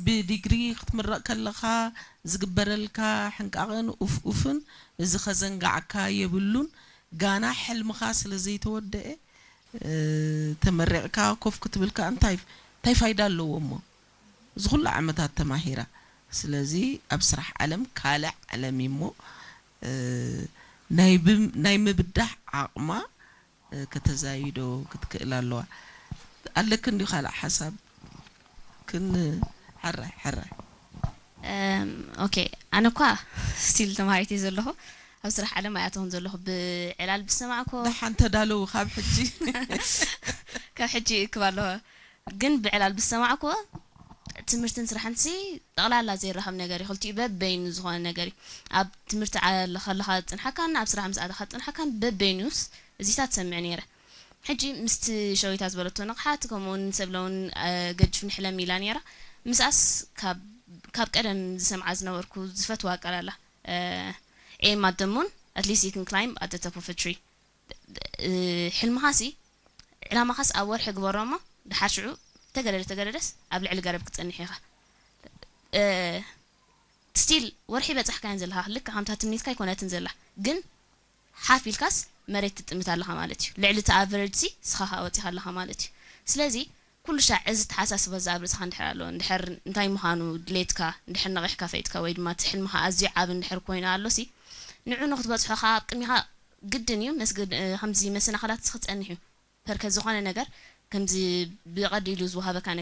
ብዲግሪ ክትምረቕ ከለኻ ዝግበረልካ ሕንቃቕን ኡፍ ኡፍን እዚ ከዘንጋዕካ የብሉን። ጋና ሕልምኻ ስለ ዘይተወደአ ተመሪቕካ ኮፍ ክትብል ከኣ እንታይ እንታይ ፋይዳ ኣለዎ እሞ? እዚ ኩሉ ዓመታት ተማሂራ። ስለዚ ኣብ ስራሕ ዓለም ካልእ ዓለም እዩ እሞ ናይ ምብዳህ ዓቕማ ከተዛይዶ ክትክእል ኣለዋ። ኣለክን ድዩ ካልእ ሓሳብ? ክን ሕራይ ሕራይ። ኦኬ፣ ኣነ እኳ ስቲል ተማሃሪት እየ ዘለኹ። ኣብ ስራሕ ዓለም ኣይኣተኹን ዘለኹ። ብዕላል ብዝሰማዕኮ ደሓን ተዳለዉ ካብ ሕጂ። ካብ ሕጂ ይእክብ ኣለኹ። ግን ብዕላል ብዝሰማዕኮ ትምህርትን ስራሕን ሲ ጠቕላላ ዘይራኸብ ነገር እዩ። ክልቲኡ በበይኑ ዝኾነ ነገር እዩ። ኣብ ትምህርቲ ዓለ ከለኻ ዝፅንሓካን ኣብ ስራሕ ምስ ኣተኻ ዝፅንሓካን በበይኑስ እዚታት ትሰምዕ ነይረ። ሕጂ ምስቲ ሸዊታ ዝበለቶ ንቕሓት ከምኡ እውን ሰብለ እውን ገጅፍኒ ሕለሚ ኢላ ነይራ። ምስኣስ ካብ ካብ ቀደም ዝሰምዓ ዝነበርኩ ዝፈትዋ ቃል ኣላ። Aim at the moon, at least you can climb at the top of a tree. ሕልምኻ ሲ ዕላማኻስ ኣብ ወርሒ ግበሮ እሞ ድሓር ሽዑ ተገደደ ተገደደስ ኣብ ልዕሊ ገረብ ክትጸንሕ ኢኻ። ስቲል ወርሒ በጻሕካያን ዘለኻ ልክዕ ከምታ ትምኒትካ ኣይኮነትን ዘላ ግን ሓፍ ኢልካስ መሬት ትጥምት ኣለኻ ማለት እዩ። ልዕሊ እቲ ኣቨረጅ ሲ ስኻ ከኣ ወጺኻ ኣለኻ ማለት እዩ። ስለዚ ኩሉ ሻዕ እዚ ተሓሳስባ እዚ ኣብ ርእስኻ እንድሕር ኣሎ እንድሕር እንታይ ምዃኑ ድሌትካ እንድሕር ነቒሕካ ፈሊጥካ ወይ ድማ እቲ ሕልምኻ ኣዝዩ ዓቢ እንድሕር ኮይኑ ኣሎ ሲ ንዑ ንክትበጽሖ ከኣ ኣብ ቅድሚኻ ግድን እዩ መስገድ ከምዚ መሰናኽላት ሲ ክጸንሕ እዩ። ፐርከ ዝኾነ ነገር ከምዚ ብቐሊሉ ዝወሃበካ